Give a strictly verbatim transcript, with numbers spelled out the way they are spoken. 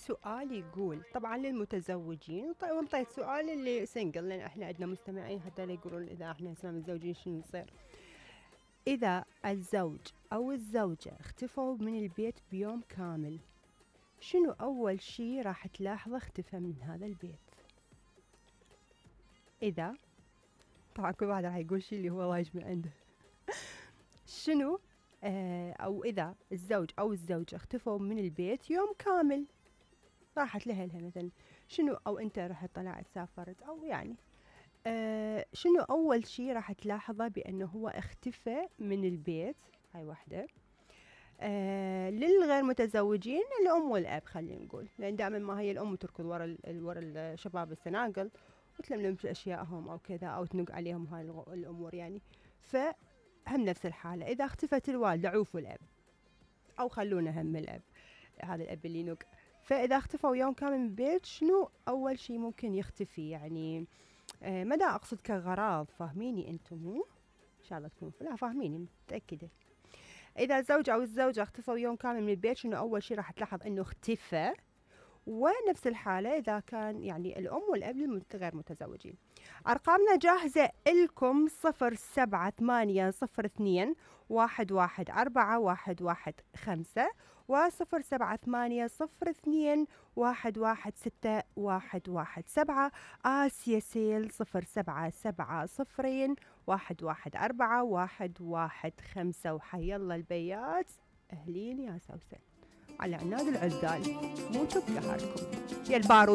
السؤال يقول طبعا للمتزوجين، وانطيت سؤال اللي سنجل لان احنا عندنا مستمعين حتى لا يقولون اذا احنا هسه متزوجين شنو يصير. اذا الزوج او الزوجة اختفوا من البيت بيوم كامل، شنو اول شي راح تلاحظه اختفى من هذا البيت؟ اذا طبعا كل واحد راح يقول شي اللي هو وايج من عنده. شنو آه او اذا الزوج او الزوجة اختفوا من البيت يوم كامل، راحت لها مثلا شنو، او انت رحت طلعت سافرت او يعني آه شنو اول شي راح تلاحظه بانه هو اختفى من البيت؟ هاي واحدة. آه للغير متزوجين الام والاب خلينا نقول، لان دائما ما هي الام تركض ورا ورا الشباب السناقل وتلملم اشيائهم او كذا او تنق عليهم هاي الامور يعني. فهم نفس الحالة، اذا اختفت الوالدة عوفوا الاب او خلونا هم الاب، هذا الاب اللي ينق. فاذا اختفوا يوم كامل من البيت شنو اول شي ممكن يختفي؟ يعني آه ما دا اقصد كغراض، فاهميني انتم مو ان شاء الله تكونوا لا فاهميني متأكدة. اذا الزوج او الزوجة اختفوا يوم كامل من البيت شنو اول شي راح تلاحظ انه اختفى؟ ونفس الحالة إذا كان يعني الأم والأب غير متزوجين. أرقامنا جاهزة إلكم صفر سبعة ثمانية صفر اثنين واحد واحد أربعة واحد واحد خمسة وصفر سبعة ثمانية صفر اثنين واحد واحد ستة واحد واحد سبعة. آسيا سيل صفر سبعة سبعة صفرين واحد واحد أربعة واحد واحد خمسة. وحي الله البيات أهلين يا سوسن على عناد العزال، مو شوف قهركم يا البارود.